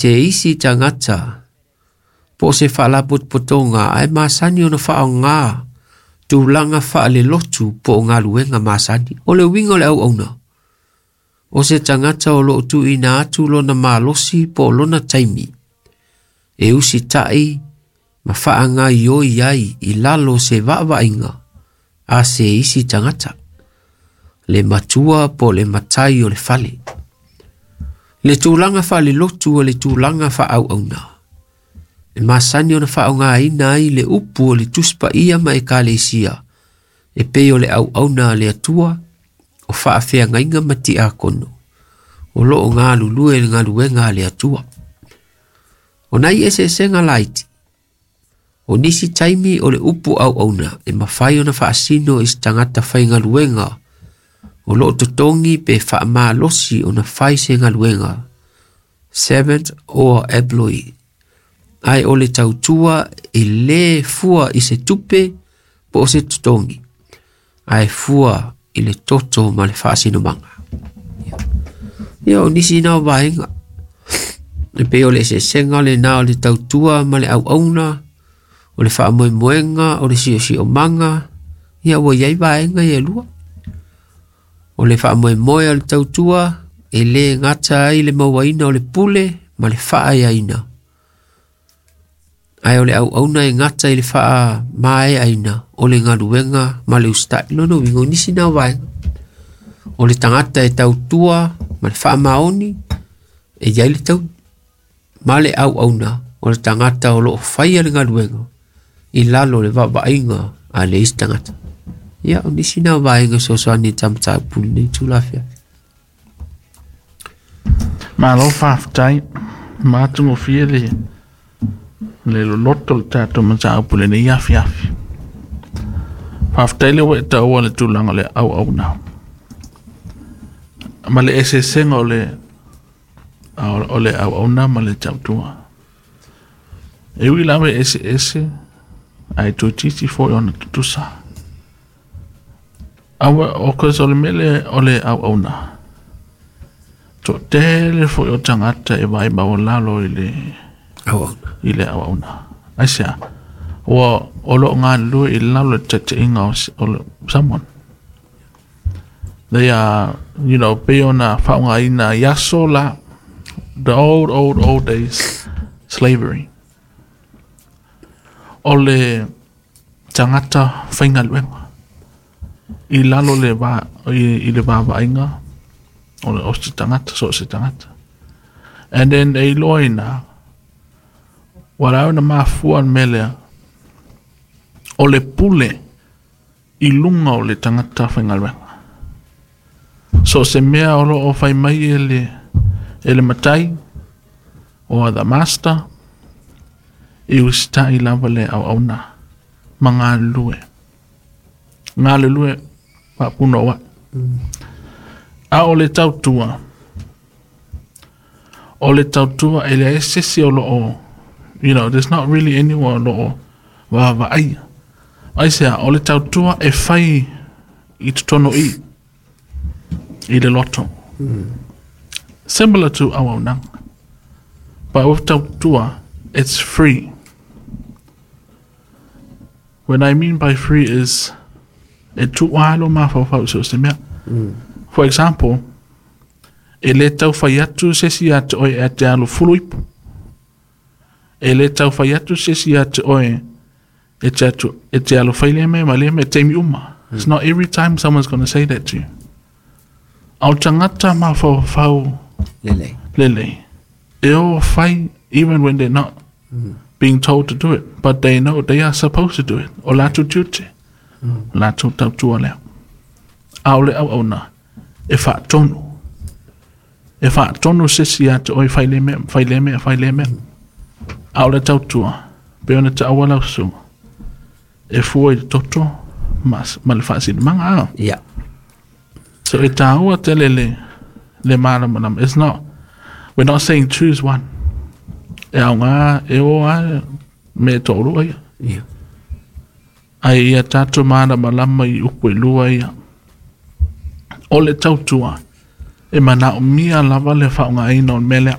Se isi tagata po o se faalapotopotoga ae masani ona faaaogā tulaga faalelotu po o galuega masani. O le uiga o le auauna, o se tagata o loo tuuina atu lona malosi po o lona taimi e usitai ma faagaoioi ai i lalo o se vaavaaiga a se isi tagata, le matua po o le matai o le fale. Le tulaga faalelotu o le tulaga faaauauna e masani ona faaaogāina ai le upu o le Tusi Paia ma Ekalesia e pei o le auauna a le Atua, o faafeagaiga ma tiakono o loo galulue i le galuega a le Atua. O nai eseesega laiti, o nisi taimi o le upu auauna e mafai ona faasino i se tagata faigaluega o loo totogi pe faamalosi ona fai se galuega, servant or employee, ae o le tautua e lē fua i se tupe po o se totogi, ae fua i le toto ma le faasinomaga. Ia, o nisi na o vaega e pei o le eseesega lenā o le tautua ma le auauna, o le faamoemoega, o le siosiomaga. Ia, ua i ai vaega ia e lua. O le faamoemoe o le tautua e lē gata ai le mauaina o le pule ma le faaeaina, ae o le auauna e gata i le faamaeaina o le galuega ma le usitai. Lona uiga o nisi na o vaega o le tagata e tautua ma le faamaoni e i ai le taui, ma le auauna o le tagata o loo faia le galuega i lalo o le vaavaaiga a le isi tagata. Ia, o nisi na o vaega fesoasoani i ta mataupu lenei itula afiafi. Malo faafetai, matagofie le loloto o le tatou mataupu lenei afiafi. Faafetai le ua e taua le tulaga o le auauna ma le eseesega o le auauna ma le tautua. E ui lava e eseese, ae toeitiiti foi ona tutusa. Aua o cause o le mea lea o le auauna. Toatele foi o tagata e vaai maualalo i le auauna. I le auauna. Aisea? Ua o lo o galulue i lalo le taitaiga o someone. They are, pei ona faaaogaina i aso la, the old, old, old days, slavery. O le tagata faigaluega i lalo le va i le vaavaaiga o se tagata, so o se tagata. And then e iloa ina ua la ona mafua le mea lea o le pule i luga o le tagata faigaluega. So se mea o lo o fai mai e le matai or the master, e usitai lava le auauna ma galulue. Galulue faapunouai. A o le tautua, o le tautua e leai se isi o lo o, there's not really anyone o lo o vaavaaia. Aisea? O le tautua e fai i totonu i le loto. Similar to auaunaga. But with tautua, it's free. What I mean by free is e tuualo mafaufau so se mea. For example, e le tau fai atu se isi ia te oe e te alu fulu ipu. E le tau fai atu se isi ia te oe e te atu e te alu fai le mea ma le mea taimi uma. It's not every time someone's going to say that to you. Ao tagata mafaufau lelei. Lelei. E o fai even when they're not being told to do it, but they know they are supposed to do it. O latou tiute. Latou tautua lea. A o le auauna e faatonu. E faatonu se isi ia te oe fai le mea, fai le mea, fai le mea. A o le tautua, pe ona taua lau susuga, e fua i le toto ma le faasinomaga a. So e tāua tele le malamalama. It's not, we're not saying choose one. E aoga e o a me to'olua ia. Ai ia tatou malamalama i upu e lua ia. O le tautua, e manaomia lava le faaaogaina o le mea lea.